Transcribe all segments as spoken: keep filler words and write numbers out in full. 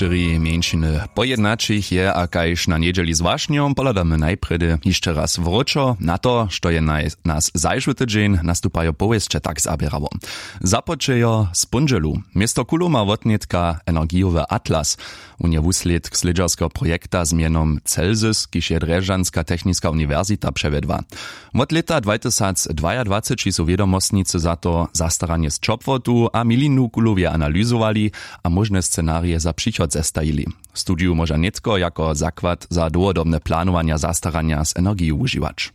štyri mjeńšiny pojednaćich je a kaž na njedźeli z wašnjom pohladamy najprjedy hišće raz wróćo na to što je naj nas zašły tydźeń nastupajo powěsće tak zaběrało. Započejo z póndźelu. Město kuloma wotnětka energijowy atlas, wón je wuslědk slědźerskeho projekta z mjenom celzys kiž je drježdźanska techniska uniwersita přewjedła. Wot lěta dwatysacdwajadwaceći su wědomostnicy za to zastaranje z ćopłotu a milinu kulowje analyzowali a móžne scenarije za přichod zestajili. Studiju móža nětko jako zakład za dołhodobne planowanja zastaranja z energiju wužiwać.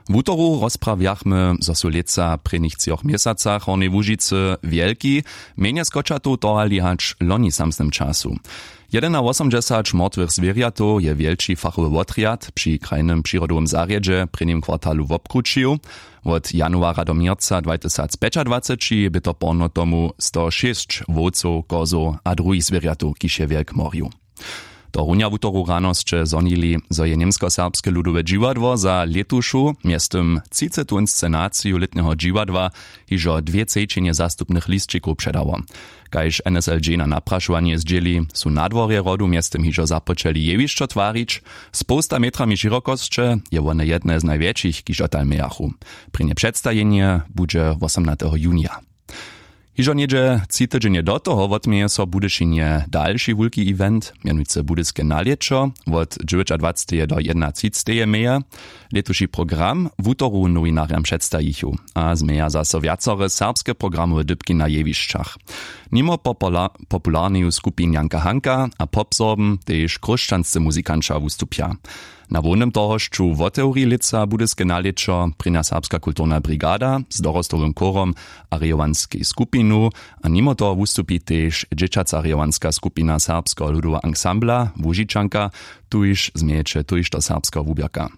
Wutoru rozprawjachmy zo su lětsa w prěnich třoch měsacach w hornjej łužicy wjelki mjenje skočatow tohali hač loni w samsnym času. Jedenawosomdźesać mortwych zwěrjatow je wjelči fachowy wotrjad při krajnym přirodowym zarjedźe w prěnim kwartalu wobkrućił. Wot januara do měrca dwatysacpjećadwaceći bě to porno tomu stošěsć wowcow kozow a druhich zwěrjatow kiž je wjelk morju. To runja wutoru rano sće zhonili zo je němskoserbske ludowe dźiwadło za lětušu mjeztym třicetu inscenaciju lětneho dźiwadła hižo dwě třećinje zastupnych lisćikow předało. Kaž nsl dźenja naprašowanje zdźěli su na dworje hrodu mjeztym hižo započeli jewišćo twarić z połsta metrami šěrokosće. Je wone jedne z najwjetšich kiž dotal mějachu. Prěnje předstajenje budźe wosomnateho junija. Hižo něhdźe tři tydźenje do toho wotměje so w budyšinje dalši wulki event mjenujcy budyske nalěćo wot dźewjećadwaceteje do jednatřiceteje meje. Lětuši program wutoru nowinarjam předstajichu a změja zaso wjacore serbske programowe dypki na jewišćach. Nimo popularneju skupin janka hanka a popsorbm tež chróšćanscy muzikanća wustupja. Na hłownym tohosću wotewri lětsa budyske nalěćo prěnja serbska kulturna brigada z dorostowym chórom a rejowanskej skupinu. A nimo toho wustupi tež dźěćaca rejowanska skupina serbskeho ludoweho ansambla łužičanka. Tuž změjeće tójšto serbskeho wuběrka.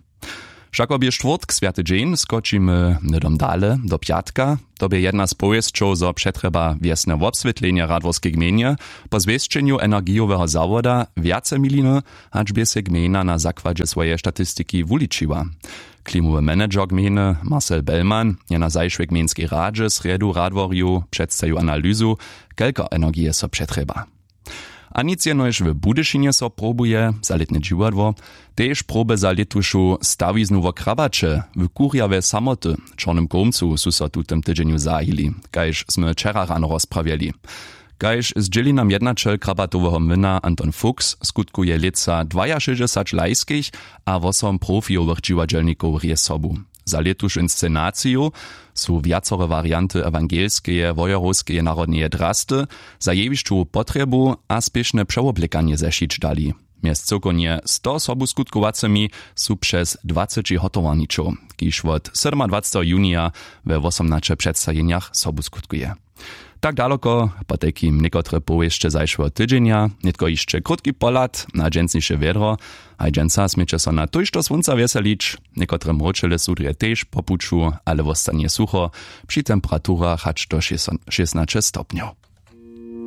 Wšako bě štwórtk swjaty dźeń skočimy hnydom dale do pjatka. To bě jedna z powěsćow zo přetrjeba wjesne wobswětlenje radworskej gmejnje po zwěsćenju energijoweho zawoda wjace miliny hač bě sej gmejna na zakładźe swojeje statistiki wuličiła. Klimowy manager gmejny marcel bellmann je na zašłej gmejnskej radźe srjedu radworju předstajił analyzu kelko energije so přetrjeba. A nic jenož w budyšinje so probuje za lětne dźiwadło. Tež proby za lětušu stawiznu wo krabaće w kurjawje samoty w čornym kołmcu su so w tutym tydźenju zahili kaž smy wčera rano rozprawjeli. Kaž zdźěli nam jednaćel krabatoweho młyna anton fuchs skutkuje lětsa dwajašěsćdźesać lajskich a wosom profijowych dźiwadźelnikow rěz sobu. Za lětušu inscenaciju su wjacore warianty ewangelskeje wojerowskeje narodneje drasty za jewišćowu potrjebu a spěšne přewoblekanje zešić dali. Mjez cyłkownje sto sobuskutkowacymi su přez dwaceći hotowarničow kiž wot sydomadwaceteho junija we wosomnaće předstajenjach sobuskutkuje. Tak daloko potajkim někotre powěsće zašłeho tydźenja. Nětko hišće krótki pohlad na dźensniše wjedro. Haj dźensa směće so na tójšto słónca wjeselić. Někotre mróčele sudrje tež po puću ale wostanje sucho při temperaturach hač do šěsnaće stopnjow.